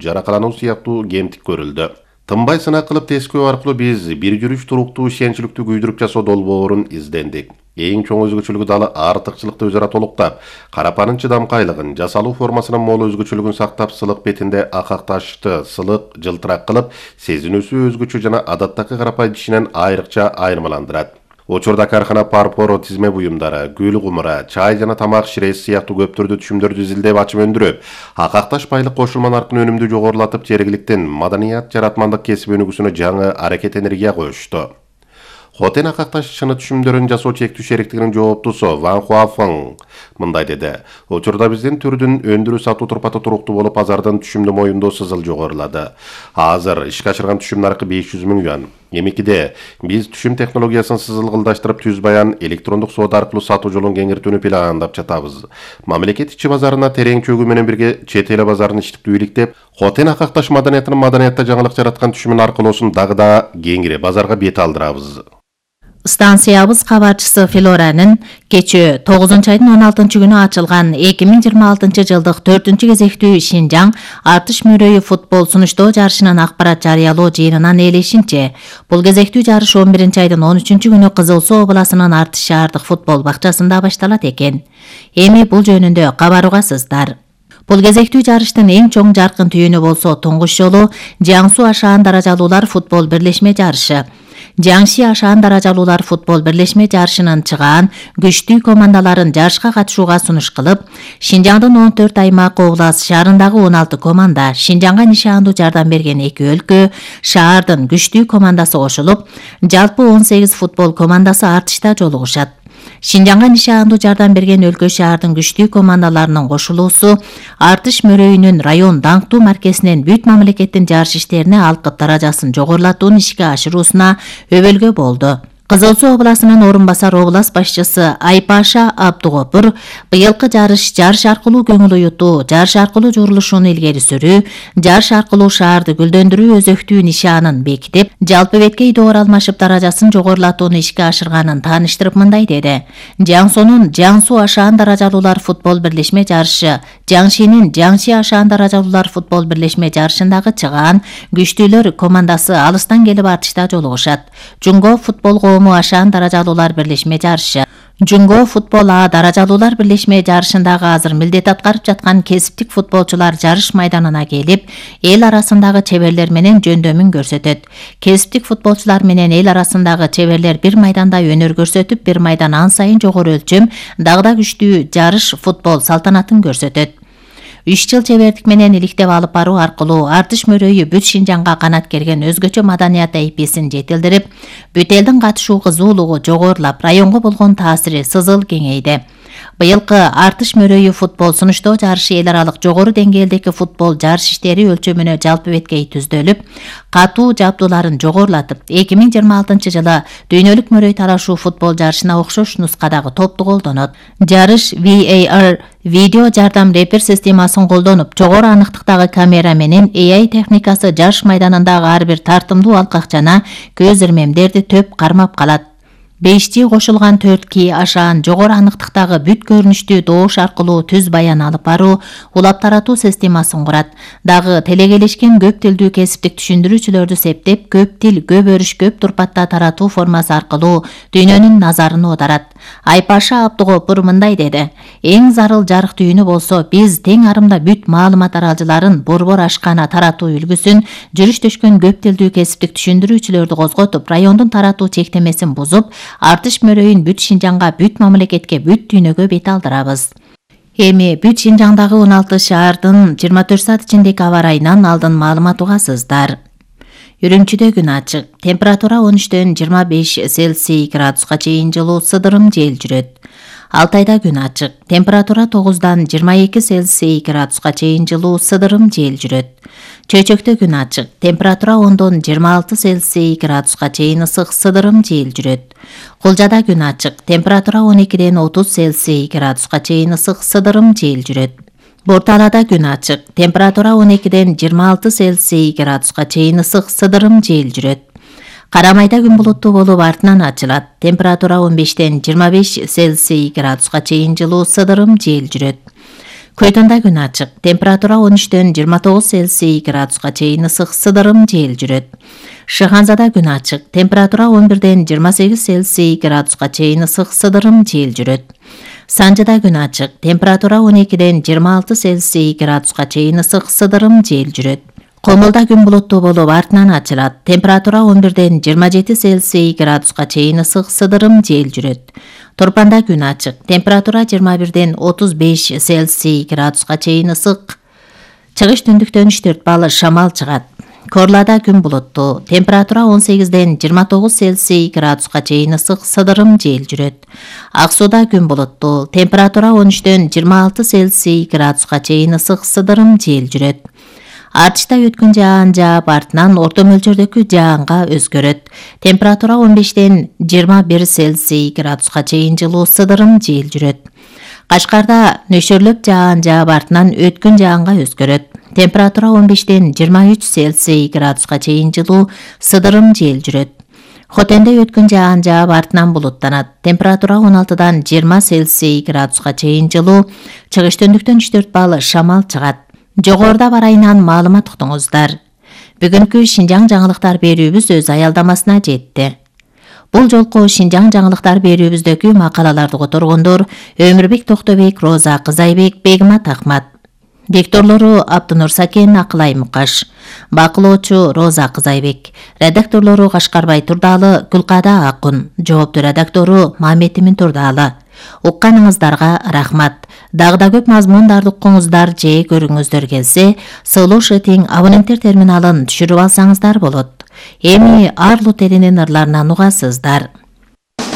жаракалануу сыяктуу кемтик көрүлдү. Тынбай сынак кылып тескөө аркылуу биз бир жүрүш туруктуу ишенчиликтүү күйдүрүп жасоо долбоорун издендик. Эң чоң өзгөчөлүгү далы артыкчылыкты өзара толуктап, карапанын чыдамкайлыгын, жасалуу формасынын мол өзгөчөлүгүн сактап, сылык бетинде акакташты сылык жылтырак кылып, сезинүүсү өзгөчө жана адаттагы карапай тишинен айрыкча айырмаландырат. Учурда кархана парпоро тизме буюмдары, гүл кумура, чай жана тамак ширesi сыяктуу көп түрдүү түшүмдөрдү изилдеп ачып өндүрүп, акакташ байлык кошулма наркын өнүмдү жогорулатып, жергиликтин маданият жаратмандык кесип өнүгүүсүнө жаңы аракет энергия коюшту. Хотен акакташ чыны түшүмдөрүн жасоо чектүү шериктигинин жооптусу Ван Хуафeng мындай деди. Учурда биздин түрдүн өндүрүү сатуу турпаты туруктуу болуп, базардын түшүмдү моюндоо сызыл жогорулады. Азыр ишке ашырган түшүм наркы 500 000 юан. Эмикиде биз түшүм технологиясын сызылгылдаштырып, түз баян электрондук соода аркылуу сатуу жолун кеңиртүүнү пландап жатабыз. Мамлекет ичи базарына терең чөгүү менен бирге чет эл базарын иштиктүү иликтеп, Хотен акакташ маданиятынын маданиятта жаңылык жараткан түшүмүн аркылоосун дагы да кеңири базарга бет алдырабыз. Станциябыз кабарчысы Флоранын кечээ 9-айдын 16-күнү ачылган 2026 жылдык 4-кезектүү Шинжаң артыш мөрөйү футбол сунуштоо жарышынын акпарат жарыялоо жыйынынан ээлешинче, бул кезектүү жарыш 11-айдын 13-күнү Кызыл Суу областынын Артыш шаардык футбол бакчасында башталат экен. Эми бул жөнүндө кабар угасыздар. Бул кезектүү жарыштын эң чоң жаркын түйүнү болсо туңгуч жолу Жаңсу Ашаан даражалуулар футбол бирлешме жарышы. Жаңши Ашаан даражалуулар футбол бирлешме жарышынын чыгаан күчтүү командаларын жарышка катышууга сунуш кылып, Шинжаңдын 14 аймак облас шаарындагы 16 команда, Шинжаңга нишандуу жардам берген 2 өлкө, шаардын күчтүү командасы кошулуп, жалпы 18 футбол командасы Артышта жолугушат. Шинжаңга нишандуу жардам берген өлкө шаардын күчтүү командаларынын кошулуусу Артыш мөрөйүнүн район даңктуу маркесинен бүт мамлекеттин жарыш иштерине алкып даражасын жогорулатууну ишке ашыруусуна өбөлгө болду. Кызыл Суу областынын орун басар облас башчысы Айпаша Абдугопур быйылкы жарыш аркылуу көңүл уютуу, жарыш аркылуу журулушууну илгери сүрүү, жарыш аркылуу шаарды гүлдөндүрүү өзөктүү нишанын бекитип, жалпы бетке идоор алмашып даражасын жогорулатууну ишке ашырганын тааныштырып мындай деди. Жаңсунун Жаңсу Ашаан даражалуулар футбол бирлешме жарышы, Жаңшинин Жаңши Ашаан даражалуулар футбол бирлешме жарышындагы чыгаан күчтүүлөр командасы алыстан келип Артышта жолугушат. Жунго футбол Ашаан даражалуулар бирлешме жарышы. Жунго футбол А даражалуулар бирлешме жарышындагы азыр милдет аткарып жаткан кесиптик футболчулар жарыш майданына келип, эл арасындагы чеберлер менен жөндөмүн көрсөтөт. Кесиптик футболчулар менен эл арасындагы чеберлер бир майданда өнөр көрсөтүп, бир майдан ан сайын жогору өлчөм, дагы да күчтүү жарыш футбол салтанатын көрсөтөт. 3 жыл чебердик менен иликтеп алып баруу аркылуу Артыш мөрөйү бүт Шинжаңга канат керген өзгөчө маданият эписин жетилдирип, бүт элдин катышуу кызуулугу жогорулап, районго болгон таасири сызыл кеңейди. Быйылкы Артыш мөрөйү футбол сунуштоо жарышы эл аралык жогору деңгээлдеги футбол жарыш иштери өлчөмүнө жалпы беткей түздөлүп, катуу жабдууларын жогорулатып, 2026 жылы дүйнөлүк мөрөй талашуу футбол жарышына окшош нускадагы топту колдонот. Жарыш VAR видео жардам репер системасын колдонуп, жогору аныктыктагы камера менен AI техникасы жарыш майданындагы ар бир тартымдуу алкак жана көз ирмемдерди төп кармап калат. 5 кошулган 4 Ашаан жогору аныктыктагы бүт көрүнүштүү добуш аркылуу түз баян алып баруу, улап таратуу системасын курат. Дагы телегелешкен көп тилдүү кесиптик түшүндүрүүчүлөрдү септеп, көп тил, көп өрүш, көп турпатта таратуу формасы аркылуу дүйнөнүн назарын оодарат. Айпаша Абдугопур мындай деди. Эң зарыл жарык түйүнү болсо, биз тең арымда бүт маалымат аралжыларын борбор ашкана таратуу үлгүсүн, жүрүштөшкөн көп тилдүү кесиптик түшүндүрүүчүлөрдү козготуп, райондун таратуу чектемесин бузуп, Артыш мөрөйүн бүт Шинжаңга, бүт мамлекетке, бүт дүйнөгө бет алдырабыз. Эми бүт Шинжаңдагы 16 шаардын 24 саат ичиндеги аба ырайынан алдын маалымат угасыздар. Үрүмчүдө күн ачык. Температура 13-төн 25 Цельсий градуска чейин жылуу, сыдырым жел жүрөт. Алтайда күн ачык. Температура 9-дан 22 Цельсий градуска чейин жылуу, сыдырым жел жүрөт. Чөйчөктө күн ачык. Температура 10-дон 26 Цельсий градуска чейин ысык, сыдырым жел жүрөт. Кулжада күн ачык. Температура 12-ден 30 Цельсий градуска чейин ысык, сыдырым жел жүрөт. Борталада күн ачык. Температура 12-ден 26 Цельсий градуска чейин ысык, сыдырым жел жүрөт. Карамайда күн булуттуу болуп артынан ачылат. Температура 15-ден 25 Цельсий градуска чейин жылуу, сыдырым жел жүрөт. Көйтөндө күн ачык. Температура 13-төн 29 Цельсий градуска чейин ысык сыдырым жел жүрөт. Шыханзада күн ачык. Температура 11-ден 28 Цельсий градуска чейин ысык сыдырым жел жүрөт. Санжыда күн ачык. Температура 12-ден 26 Цельсий градуска чейин ысык сыдырым жел жүрөт. Комулда күн булуттуу болуп артынан ачылат. Температура 11-ден 27 Цельсий градуска чейин ысык сыдырым жел жүрөт. Торпанда күн ачык. Температура 21-ден 35 Цельсий градуска чейин ысык. Чыгыш түндүктөн 4 балл шамал чыгат. Корлада күн булуттуу. Температура 18-ден 29 Цельсий градуска чейин ысык сыдырым жел жүрөт. Ак сууда күн булуттуу. Температура 13-ден 26 Цельсий градуска чейин ысык сыдырым жел жүрөт. Артышта өткөн жаан жаап, артынан орто мөлчөрдөгү жаанга өзгөрөт. Температура 15-ден 21 Цельсий градуска чейин жылуу сыдырым жел жүрөт. Кашкарда нөшөрлөп жаан жаап, артынан өткөн жаанга өзгөрөт. Температура 15-ден 23 Цельсий градуска чейин жылуу сыдырым жел жүрөт. Хотенде өткөн жаан жаап, артынан булуттанат. Температура 16-дан 20 Цельсий градуска чейин жылуу, чыгыш түндүктөн 4 балл шамал чыгат. Жогоруда бар айынан маалымат уктуңуздар. Бүгүнкү Шинжаң жаңылыктар берүүбүз өз аялдамасына жетти. Бул жолку Шинжаң жаңылыктар берүүбүздөгү макалаларды которгондор Өмүрбек Токтобек, Роза Кызайбек, Бегмат Акмат. Дикторлору Абдынур Сакен, Акылай Мукаш. Бакылоочу Роза Кызайбек. Редакторлору Кашкарбай Турдалы, Гүлкада Акун. Жоопту редактору Маметимин Турдалы. Укканыңыздарга рахмат. Дагы көп мазмундарды уккуңуздар же көрүңүздөр келсе, Слушатиң абоненттер терминалын түшүрүп алсаңыздар болот. Эми Арлут элинин ырларынан угасыздар.